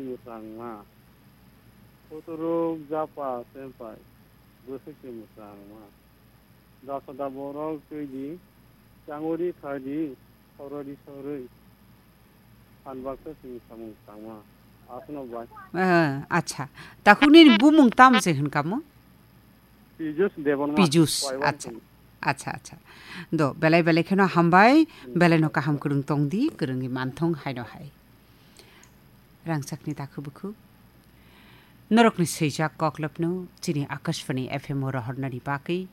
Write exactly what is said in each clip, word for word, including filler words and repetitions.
mwsangma. Kuturuk japa sempai, bwswk se mwsangma. Jasada borok twi di, changuri thai di, sorori soroi. Phan baksa sini samung tangma. Aswkno bai. Ah, acha. Takhukni bumung tam se hwn kamo? Pijus Debonma. Pijus, Waiwan acha. Sini. Acha, acha. Do, belai belai kheno hambai, Hmm. belai no kaham kwrwng tong di, kwrwngwi manthong haino hai. Rangchakni takhu bukhu. Norokni swijak koklopno chini Akashvani F M o rohornani bagwi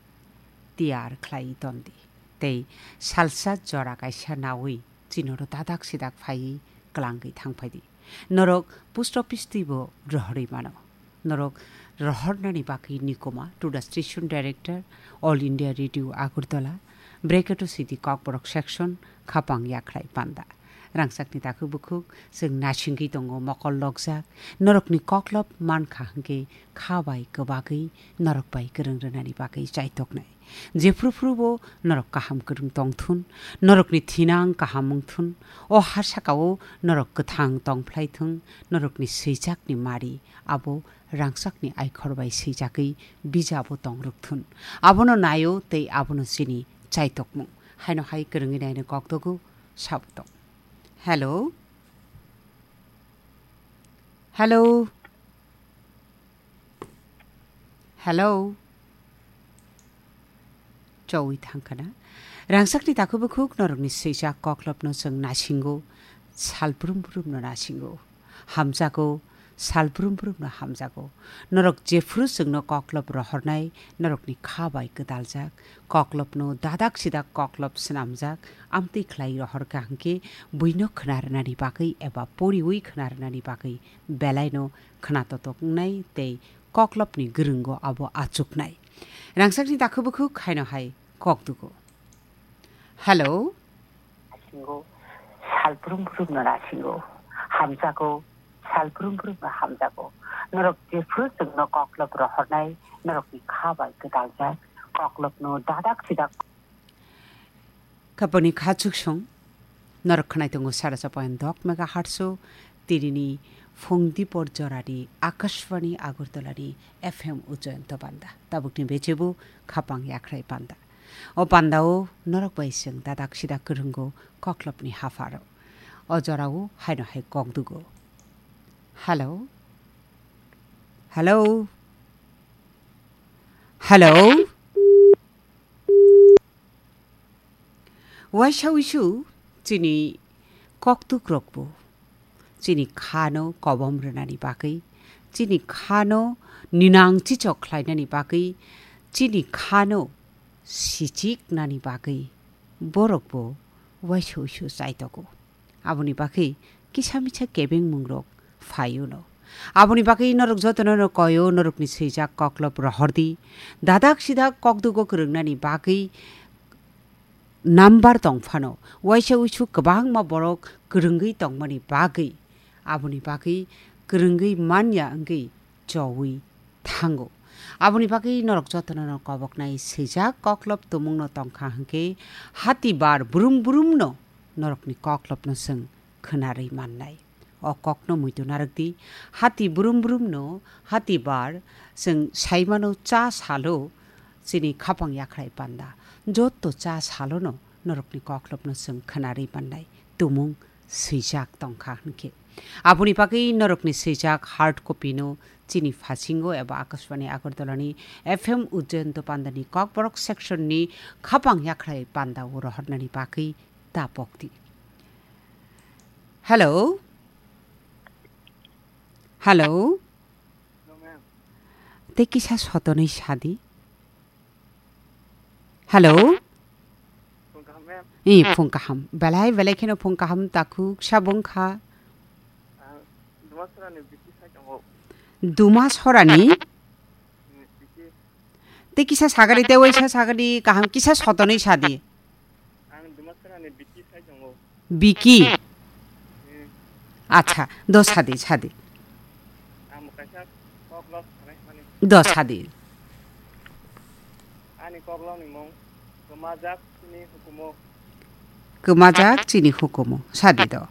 tiyar khlai tondi. Tei salsa jora kaisa nawi chinoro dadak sidak phaiwi klangwi thangphaidi. Norok post office twibo rohorwi mano. Norok rohornani bagwi nikoma to the station director, All India Radio Agartala, bracket o sidi Kokborok section, Khapang Yakhrai Panda. Rangchakni takhuk bukhuk, chwng nasingwi tongo mokol lokjak, norokni koklop mankha hwnkhe kha bai kwbagwi norok bai kwrwng rwnani bagwi chaitoknai. Jephru phru bo norok kaham kwrwng tongthun, norokni thinang kaham wngthun, o ha sakao norok kwthang tongphlaithung, norokni swijakni mari abo rangchakni aikhor bai swijakwi bijabo tong rwkthun. Abono naio tei abono chini chaitokmung. Haino hai kwrwngwi naino kokdogo sabo tong. Hello? Hello? Hello? Chowi thangkhana. Rangchakni takhuk bukhuk norokni swijak koklopno chwng nasingo, sal brum brumno nasingo. Hamjago, sal brum brumno hamjago. Norok jephru chwngno koklop rohornai, norokni kha bai kwdaljak, koklopno dadak sidak koklop swnamjak, amtwi khlai rohorkha hwnkhe buino khna rwnani bagwi eba poriwi khna rwnani bagwi belaino khna totok wngnai tei koklopni gwrwngo abo achuknai. Rangchakni takhuk bukhuk haino hai kokdugo. Hello. Nasingo, sal brum brumno nasingo. Hamjago, sal brum brumno hamjago. Norok jephru chwngno koklop rohornai, norokni kha bai kwdaljak, koklopno dadak sidak. Khapangni kha chuksong, norok khwnai tongo sara cha point dok megahertz o, tinini phung dipor jorani Akashvani Agartalani F M o Jayanta Panda. Tabukni bechebu Khapang Yakhrai Panda. O pandao norok bai chwng dadak sidak kwrwngo koklopni hapharo. O jorao haino hai kokdugo. Hello? Hello? Hello? Waisa wisu chini koktukrokbo chini khano kobom rwnani bagwi, chini khano ninang chichok khlainani bagwi, chini khano sichiknani bagwi borokbo waisa wisu chaitogo. Aboni bagwi kisa misa kebengmungrok phaio no. Aboni bagwi norok jotono no koyo, norokni swijak koklop rohordi. Dadak sidak kokdugo kwrwngnani bagwi number tong phano, waisa wisu kwbangma borok kwrwngwi tongmani bagwi, aboni bagwi kwrwngwi manya wngwi chowi thango. Aboni bagwi norok jotono no koboknai swijak koklop tumungno tongkha hwnkhe hati bar brum brumno norokni koklopno chwng khwnarwi mannai. O kokno muitu narwkdi, hati brum brumno hati bar chwng saimano cha salo chini Khapang Yakhrai Panda. Jotto cha salono norokni koklopno chwng khwnarwi mannai. Tumung swijak tongkha hwnkhe. Aboni bagwi norokni swijak hard copy no chini phasingo eba Akashvani Agartalani F M Ujjayanta Pandani Kokborok section ni Khapang Yakhrai Panda o rohornani bagwi ta pokdi. Hello? Hello? Tei kisa sotonwi sadi. Hello? Phung kaham, ma'am. Eh, phung kaham. Belai, belai kheno phung kaham takhuk sabung kha. Ang Dumasarani Biki sai tongo. Dumasarani? Hmm, Biki. Tei kisa sagadi, tei waisa sagadi, kaham kisa sotonwi sadi. Ang Dumasarani Biki sai tongo. Biki? Hmm. Acha, do sadi, sadi. Ang bo kaisa koklop sanai mani. Do sadi. Ani koklopni mung Kwmajak Chini Hukumu. Kwmajak Chini Hukumu. Sadi do.